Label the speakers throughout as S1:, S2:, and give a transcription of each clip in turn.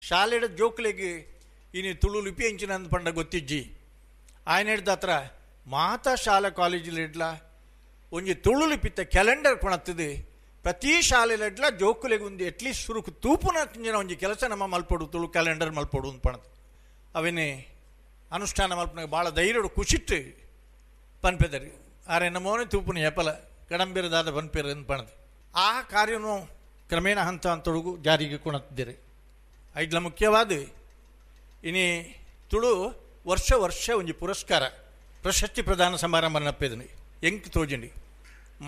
S1: ಶಾಲೆಡ್ ಜೋಕ್ಲೆಗ್ ಇನಿ ತುಳು ಲಿಪಿ ಎಂಚಿನಂದ್ ಪಂಡ ಗೊತ್ತಿಜ್ಜಿ. ಆಯನೆಡ್ದಾತ್ರ ಮಾತಾ ಶಾಲಾ ಕಾಲೇಜಿಲೆಡ್ಲ ಒಂಜಿ ತುಳು ಲಿಪಿತ ಕ್ಯಾಲೆಂಡರ್ ಕೊಣತ್ತದು ಪ್ರತಿ ಶಾಲೆಲೆಡ್ಲ ಜೋಕುಲೆಗ್ ಒಂದು ಅಟ್ಲೀಸ್ಟ್ ಸುರುಕು ತೂಪುನ ಒಂಜಿ ಕೆಲಸ ನಮ್ಮ ಮಲ್ಪೊಡು, ತುಳು ಕ್ಯಾಲೆಂಡರ್ ಮಲ್ಪೊಡು ಅಂದ್ ಪಣದು ಅವೆನೆ ಅನುಷ್ಠಾನ ಮಲ್ಪುನಾಗ ಭಾಳ ಧೈರ್ಯಡು ಖುಷಿಟ್ಟು ಪನ್ಪೆದರು. ಆರೆ ನಮೋನೆ ತೂಪುನ ಎಪಲ ಕಡಂಬಿರದಾದ ಪನ್ಪೆರು ಅಂದ್ ಪಣದು ಆ ಕಾರ್ಯನು ಕ್ರಮೇಣ ಹಂತ ಹಂತೊಳಗು ಜಾರಿಗೆ ಕೊಣತ್ತಿದ್ದೀರಿ. ಐಡ್ಲ ಮುಖ್ಯವಾದ ಇನಿ ತುಳು ವರ್ಷ ವರ್ಷ ಒಂಜಿ ಪುರಸ್ಕಾರ ಪ್ರಶಸ್ತಿ ಪ್ರದಾನ ಸಮಾರಂಭ ನಪ್ಪೆದನಿ ಎಂಕ್ ತೋಜಿಂಡಿ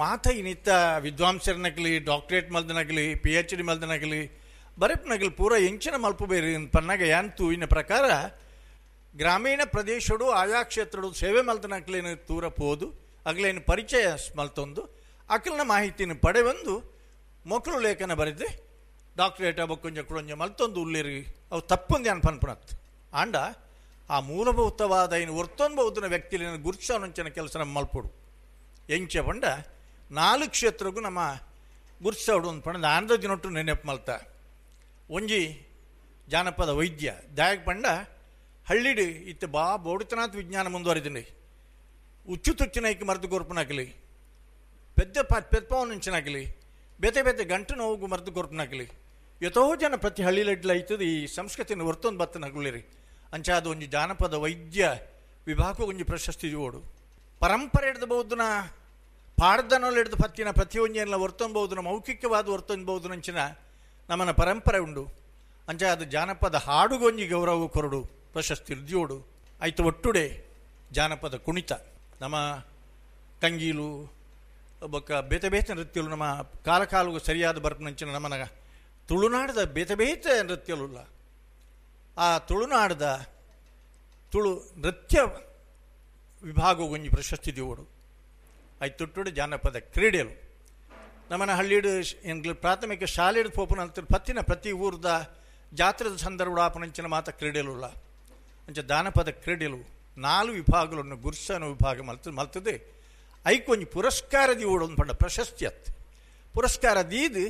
S1: ಮಾತ ಇನ್ನಿತ್ತ ವಿದ್ವಾಂಸರನಗಲಿ, ಡಾಕ್ಟ್ರೇಟ್ ಮಲ್ದನಗಲಿ, PhD ಮಲ್ದನಗಲಿ, ಬರೆಪ್ನಗಲಿ ಪೂರ ಎಂಚಿನ ಮಲ್ಪು ಬೇರೆ ಪನ್ನಾಗ ಯಾಂತು ಇನ್ನ ಪ್ರಕಾರ ಗ್ರಾಮೀಣ ಪ್ರದೇಶಡು ಆಯಾ ಕ್ಷೇತ್ರಡು ಸೇವೆ ಮಲ್ದನಗಲೇನು ತೂರ ಪೋದು ಅಗಲೇನು ಪರಿಚಯ ಮಲ್ತೊಂದು ಅಕಲ್ನ ಮಾಹಿತಿನ ಪಡೆವಂದು ಮೊಕ್ಕಳು ಲೇಖನ ಬರೆದು ಡಾಕ್ಟ್ರೇಟ್ ಬೊಕ್ಕೊಂಜ ಕುಳೊಂಜ ಮಲ್ತೊಂದು ಉಲ್ಲೇರಿ ಅವು ತಪ್ಪೊಂದು ಅನ್ ಪನ್ಪುನತ್ ಆಂಡ ಆ ಮೂಲಭೂತವಾದ ಇನ್ನು ಒರ್ತೊಂಬೌದನ ವ್ಯಕ್ತಿಲಿನ ಗುರ್ಸನುಂಚಿನ ಕೆಲಸ ನಮ್ಮ ಮಲ್ಪೊಡು. ಎಂಚ ಪಂಡ ನಾಲ್ಕು ಕ್ಷೇತ್ರಗೂ ನಮ್ಮ ಗುರ್ಸೋಡು ಒಂದು ಪಂಡ ಆನಂದ ದಿನೊಟ್ಟು ನೆನಪು ಮಲ್ತ. ಒಂಜಿ ಜಾನಪದ ವೈದ್ಯ ದಾಯಕ ಪಂಡ ಹಳ್ಳಿಡು ಇತ್ತ ಬಾ ಬೋಡಿತನಾಥ್ ವಿಜ್ಞಾನ ಮುಂದುವರಿದ್ದೀನಿ. ಉಚ್ಚು ತುಚ್ಚಿನೈಕ್ ಮರ್ದು ಕೊರ್ಪುನಾಗಲಿ, ಪೆದ್ದ ಪೆದ್ಪವನುಂಚಿನಾಗಲಿ, ಬೇತೆ ಬೇತೆ ಗಂಟು ನೋವು ಮರ್ದು ಕೊರ್ಪುನಾಗಲಿ, ಎತೋ ಜನ ಪ್ರತಿ ಹಳ್ಳಿಲೆಡ್ಲ ಐತದ ಈ ಸಂಸ್ಕೃತಿನ ಹೊರ್ತೊಂದು ಬತ್ತನಗುಳಿರಿ. ಅಂಚಾದ ಒಂಜಿ ಜಾನಪದ ವೈದ್ಯ ವಿಭಾಗ ಒಂಜಿ ಪ್ರಶಸ್ತಿ ಓಡು ಪರಂಪರೆ ಹಿಡ್ದು ಬಹುದನ ಪಾಡ್ದನಲ್ಲಿ ಹಿಡಿದು ಪತ್ತಿನ ಪ್ರತಿಯೊಂಜೆಲ್ಲ ಹೊರ್ತೊಂಬೌದನ ಮೌಖಿಕವಾದ ಹೊರ್ತೊಂಬೌದನಂಚಿನ ನಮ್ಮನ ಪರಂಪರೆ ಉಂಡು. ಅಂಚ ಅದು ಜಾನಪದ ಹಾಡುಗೊಂಜಿ ಗೌರವ ಕೊರಡು ಪ್ರಶಸ್ತಿ ರುಜಿಯೋಡು ಆಯ್ತು. ಒಟ್ಟುಡೆ ಜಾನಪದ ಕುಣಿತ ನಮ್ಮ ಕಂಗೀಲು ಬೊಕ್ಕ ಬೇತೆ ಬೇತೆ ನೃತ್ಯಲು ನಮ್ಮ ಕಾಲ ಕಾಲುಗೂ ಸರಿಯಾದ ಬರ್ಪನಂಚಿನ ನಮ್ಮನ ತುಳುನಾಡದ ಬೇತೆ ಬೇತೆ ನೃತ್ಯಲುಲ್ಲ. ಆ ತುಳುನಾಡದ ತುಳು ನೃತ್ಯ ವಿಭಾಗಗೊಂಜಿ ಪ್ರಶಸ್ತಿ ದಿವೋಡು ಆಯ್ತು. ಜಾನಪದ ಕ್ರೀಡೆಲು ನಮ್ಮನ ಹಳ್ಳಿಡು ಎಂಗ್ಲ ಪ್ರಾಥಮಿಕ ಶಾಲೆಡು ಪೋಪುನ ಪತ್ತಿನ ಪ್ರತಿ ಊರ್ದ ಜಾತ್ರೆದ ಸಂದರ್ಭ ಆಪನಂಚಿನ ಮಾತ ಕ್ರೀಡೆಲುಲ್ಲ. ಅಂಚ ಜಾನಪದ ಕ್ರೀಡೆಲು ನಾಲ್ಕು ವಿಭಾಗಗಳನ್ನು ಗುರ್ಸನ ವಿಭಾಗ ಮಲ್ತದೆ ಐಕೊಂಜಿ ಪುರಸ್ಕಾರ ದಿವೋಡು ಒಂದು ಪಂಡ ಪ್ರಶಸ್ತಿ ಅತ್ ಪುರಸ್ಕಾರ ದೀದು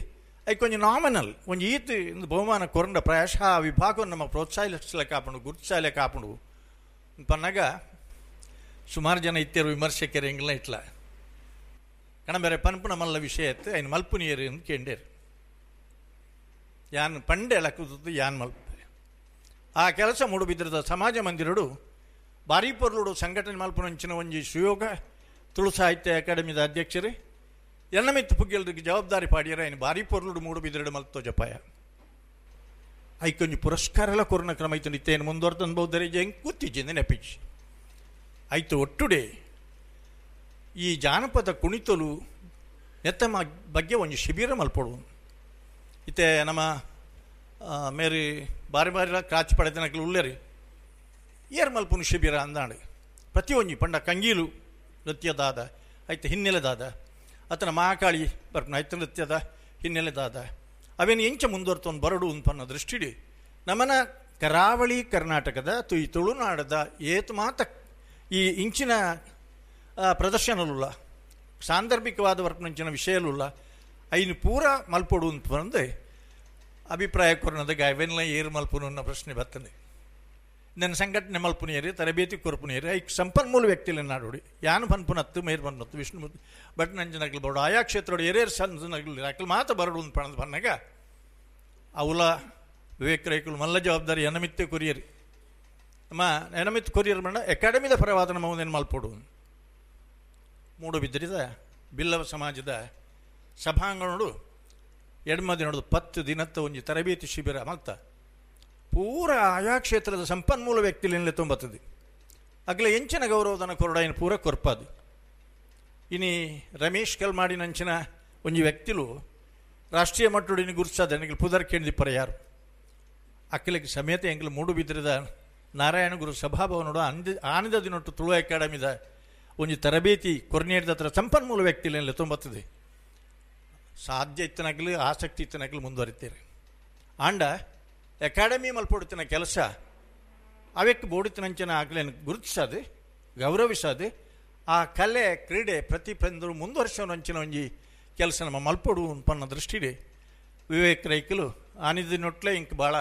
S1: ಐಕೊಂಜಿ ನಾಮಿನಲ್ ಒಂಜಿ ಈತ್ ಇಂದು ಬಹುಮಾನ ಕೊರಂಡ ಪ್ರಾಯಶಃ ಆ ವಿಭಾಗವನ್ನು ನಮ್ಮ ಪ್ರೋತ್ಸಾಹಿಸಲಿಕ್ಕೆ ಕಾಪುಂಡು ಗುರುತಿಸಲಿಕ್ಕೆ ಕಾಪುಂಡು ಪನ್ನಾಗ ಸುಮಾರು ಜನ ಇತ್ತೇರು ವಿಮರ್ಶಕರು ಎಂಗ್ಲ ಇಟ್ಲ ಕಣಬೇರೆ ಪನ್ಪು ನಮ್ಮಲ್ಲ ವಿಷಯ ಇತ್ತು ಐನು ಮಲ್ಪುನಿಯರು ಅಂತ ಕೇಂಡೇರು. ಯಾನ್ ಪಂಡೆ ಲಕ್ಕುದು ಯಾನ್ ಮಲ್ಪೆ ಆ ಕೆಲಸ ಮೂಡುಬಿದ್ರದ ಸಮಾಜ ಮಂದಿರಡು ಭಾರೀ ಪೊರ್ಲುಡು ಸಂಘಟನೆ ಮಲ್ಪುನಂಚಿನ ಒಂಜಿ ಸುಯೋಗ ತುಳು ಸಾಹಿತ್ಯ ಅಕಾಡೆಮಿದ ಅಧ್ಯಕ್ಷರೇ ಎನ್ನಮಿತ್ತು ಪುಗ್ಗೆಲ್ರಿಗೆ ಜವಾಬ್ದಾರಿ ಪಾಡಿಯರ ಐನು ಭಾರೀ ಪೊರ್ಲುಡು ಮೂಡುಬಿದ್ರಡು ಮಲ್ತೋ ಜಪಾಯ ಐಕೊಂಜಿ ಪುರಸ್ಕಾರ ಎಲ್ಲ ಕೊರೋನಾ ಕ್ರಮ ಐತು ನಿತ್ಯೇನು ಮುಂದುವರೆದು ಹೆಂಗೆ ಕೂತಿಜ್ಜಿಂದ ನೆಪಿಚ್ ಆಯ್ತು. ಒಟ್ಟುಡೆ ಈ ಜಾನಪದ ಕುಣಿತಲು ನೆತ್ತಮ ಬಗ್ಗೆ ಒಂಜಿ ಶಿಬಿರ ಮಲ್ಪೊಡು. ಇತ್ತೆ ನಮ್ಮ ಮೇರಿ ಬಾರಿ ಬಾರಿ ಕ್ರಾಚಿ ಪಡೆದನಕ್ಲು ಉಲ್ಲೇರಿ ಏರ್ ಮಲ್ಪುನು ಶಿಬಿರ ಅಂದಾಂಡು ಪ್ರತಿಯೊಂಜಿ ಪಂಡ ಕಂಗೀಲು ನೃತ್ಯದಾದ ಆಯ್ತು ಹಿನ್ನೆಲೆದಾದ ಅತನ ಮಹಾಕಾಳಿ ಬರ್ಪುನ ಆಯ್ತು ನೃತ್ಯದ ಹಿನ್ನೆಲೆದಾದ ಅವೇನು ಎಂಚ ಮುಂದುವರ್ತೊಂದು ಬರಡು ಪನ್ನ ದೃಷ್ಟಿಡಿ ನಮ್ಮನ ಕರಾವಳಿ ಕರ್ನಾಟಕದ ಈ ತುಳುನಾಡದ ಏತು ಮಾತ ಈ ಇಂಚಿನ ಪ್ರದರ್ಶನಲುಲ್ಲ ಸಾಂದರ್ಭಿಕವಾದ ವರ್ಪನಂಚಿನ ವಿಷಯಲುಲ್ಲ ಐನು ಪೂರ ಮಲ್ಪೊಡು ಅಂತ ಅಭಿಪ್ರಾಯ ಕೊರನದ ಗಾಯವೆಲ್ಲ ಏರು ಮಲ್ಪುನು ಅನ್ನೋ ಪ್ರಶ್ನೆ ಬರ್ತದೆ. ನನ್ನ ಸಂಘಟನೆ ಮಲ್ಪುನಿಯರಿ ತರಬೇತಿ ಕೊರ್ಪುನಿಯರಿ ಐಕ್ ಸಂಪನ್ಮೂಲ ವ್ಯಕ್ತಿಲ ನಾಡೋಡಿ ಯಾನು ಪನ್ಪುನತ್ತು ಮೇರ್ ಬನ್ನತ್ತು ವಿಷ್ಣು ಭಟ್ ನಂಜನಗಲು ಬರಡು ಆಯಾ ಕ್ಷೇತ್ರೋಡು ಏರೇರು ಸಣ್ಣ ಅಕ್ಕಲು ಮಾತ ಬರಡು ಅಂತ ಪಣದ ಪನ್ನಾಗ ಅವಲ ವಿವೇಕ್ ರೈಕುಲು ಮಲ್ಲ ಜವಾಬ್ದಾರಿ ಎನಮಿತ್ತೆ ಕೊರಿಯರಿ ನಮ್ಮ ಎನಮಿತ್ ಕೊರಿಯರ್ ಮಂಡ ಅಕಾಡೆಮಿದ ಪರವಾದ ನಮ್ಮ ಒಂದೇನು ಮಲ್ಪೊಡು. ಮೂಡುಬಿದ್ರಿದ ಬಿಲ್ಲವ ಸಮಾಜದ ಸಭಾಂಗಣೋಡು ಎಡ್ಮದಿನೋಡು 10 ದಿನತ್ತ ಒಂಜಿ ತರಬೇತಿ ಶಿಬಿರ ಮಲ್ತ ಪೂರ ಆಯಾ ಕ್ಷೇತ್ರದ ಸಂಪನ್ಮೂಲ ವ್ಯಕ್ತಿಲಿಂದಲೇ ತುಂಬತ್ತದೆ. ಅಗಲ ಎಂಚಿನ ಗೌರವದನ ಕೊರಡಾಯಿನ ಪೂರ ಕೊರ್ಪಾದು. ಇನಿ ರಮೇಶ್ ಕಲ್ಮಾಡಿನಂಚಿನ ಒಂಜಿ ವ್ಯಕ್ತಿಲು ರಾಷ್ಟ್ರೀಯ ಮಟ್ಟುಡಿನ ಗುರುಸಾದ ಎಂಗ್ಲು ಪುದರ್ ಕೇಂದಿಪ್ಪರ ಯಾರು ಅಕ್ಕಲಿಗೆ ಸಮೇತ ಎಂಗ್ಲು ಮೂಡುಬಿದ್ರಿದ ನಾರಾಯಣ ಗುರು ಸಭಾಭವನೋಡು ಆನಂದ ದಿನೊಟ್ಟು ತುಳು ಅಕಾಡೆಮಿದ ಒಂಜಿ ತರಬೇತಿ ಕೊರ್ನೇಡ್ದ ಹತ್ರ ಸಂಪನ್ಮೂಲ ವ್ಯಕ್ತಿಲಿಂದಲೇ ತುಂಬತ್ತದೆ. ಸಾಧ್ಯ ಇತ್ತನಾಗಲಿ ಆಸಕ್ತಿ ಇತ್ತನಾಗಲಿ ಮುಂದುವರಿತೀರಿ. ಆಂಡ ಅಕಾಡೆಮಿ ಮಲ್ಪೊಡುತ್ತಿನ ಕೆಲಸ ಅವಕ್ಕೆ ಬೋಡಿತಿನಂಚಿನ ಆಗಲೇನು ಗುರುತಿಸೋದು ಗೌರವಿಸೋದು ಆ ಕಲೆ ಕ್ರೀಡೆ ಪ್ರತಿ ಬಂದರು ಮುಂದುವರ್ಸೋನಂಚಿನ ಒಂಜಿ ಕೆಲಸ ನಮ್ಮ ಮಲ್ಪೊಡು ಪನ್ನ ದೃಷ್ಟಿಡೆ ವಿವೇಕ್ ರೈಕಲು ಆನಿದಿನೊಟ್ಲೆ ಇಂಕ್ ಭಾಳ